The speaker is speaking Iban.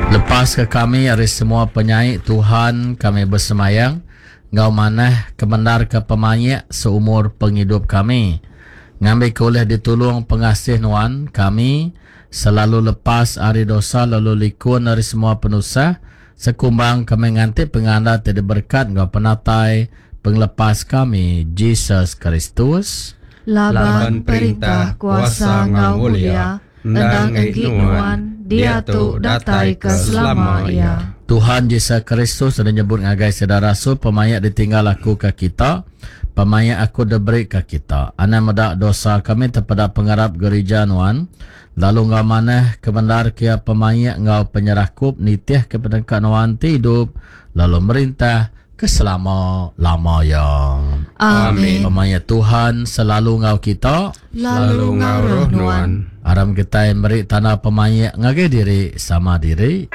Lepaska kami ari semua penyai, Tuhan, kami besemayang enggau manah kemendarka pemaik seumur pengidup kami, ngambika ulih ditulung pengasih Nuan, kami selalu lepas ari dosa lalu likun ari semua penusah, sekumbang kami nganti pengandal ti diberekat enggau penatai Pengelepas kami, Jesus Kristus. Laban perintah, kuasa enggau mulia endang enggi Nuan, diatu datai ke selama iya. Tuhan Jesus Kristus udah nyebut ngagai sida rasul, Pemaik ditinggal aku ke kita, pemaik aku diberi ke kita. Anang meda dosa kami tepeda pengarap gerija Nuan, lalu enggau manah kebendar ke iya pemaik enggau penyerakup nitihka peneka Nuan ti idup lalu merintah ke selama lama iya. Amin. Pemaik Tuhan selalu enggau kita. Lalu enggau roh nuan. Aram kitai meri tanda pemaik ngagai diri sama diri.